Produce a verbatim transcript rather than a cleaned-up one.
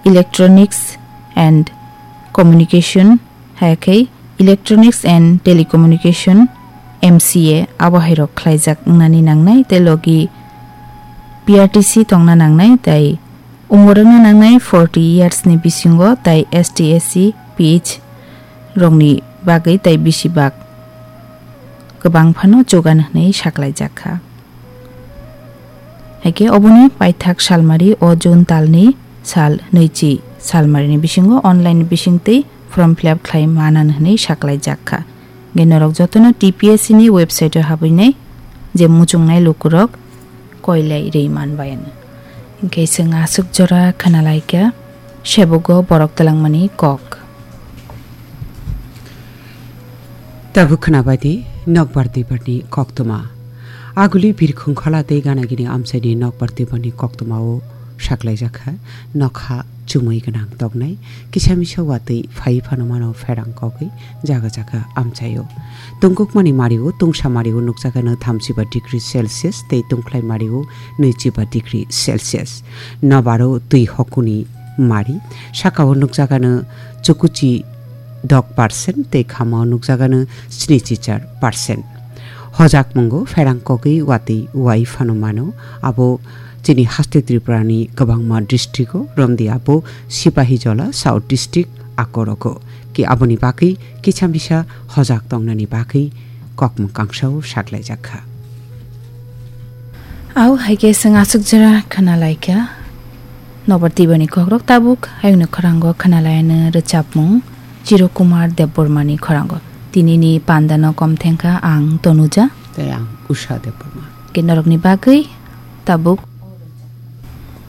Electronics and Communication, hai khe Electronics and Telecommunication, M C A, abo hai rok khlaijak wngnani nangnai, tei logi P R T C tongna nangnai, tei umor wngna nangnai forty years ni bisingo, tei S T S C, P H rokni bagwi tei bisi bak kwbang phano chugan hwnwi saklaijak kha. Hai khe oboni paithak salmari o June talni sal nwichi salmarini bisingo online bisingtwi form fill up khlai manan hwnwi saklaijak kha. Hingkhe norok jotono T P S C ni website o habwinai je muchungnai lukurok koilai rwi manbai ano. Hingkhe chwng aswk jora khwnalaikha sebogo borok twlangmani kok. Tabuk khwnabadi nokbar twibarni koktwma. Aguli birkhung khola tei ganagini amchaini nokbar twibarni koktwmao saklaijakha nokha chumui gwnang toknai kisa misa watwi phai phano mano pherang kogwi jaga jaga amchaio. Tungkukmani mario tungsa mario nukjakano thamchiba degree Celsius tei tungkhlai mario nwichiba degree Celsius. Nobaro twi hokuni mari sakao nukjakano chukuchi dok percent tei khamao nukjakano snichichar percent. Hojak mungo pherang kogwi watwi wai phano mano, abo chini haste Tripurani kwbangma district-o, romdi abo Sipahijola South District, akorogo. Ki aboni bagwi kisa misa hojak tongnani bagwi kokmung kangsao saklaijak kha. Au hai khe chwng aswk jora khwnalaikha. Nobar tibani kokrok tabuk ayungni khoranggo khwnalaino rwchapmung Chiro Kumar Debbarmani khoranggo. Tinini pandano kom thengkha ang Tonuja. Tei ang Usha Debbarma. Ke norokni bagwi tabuk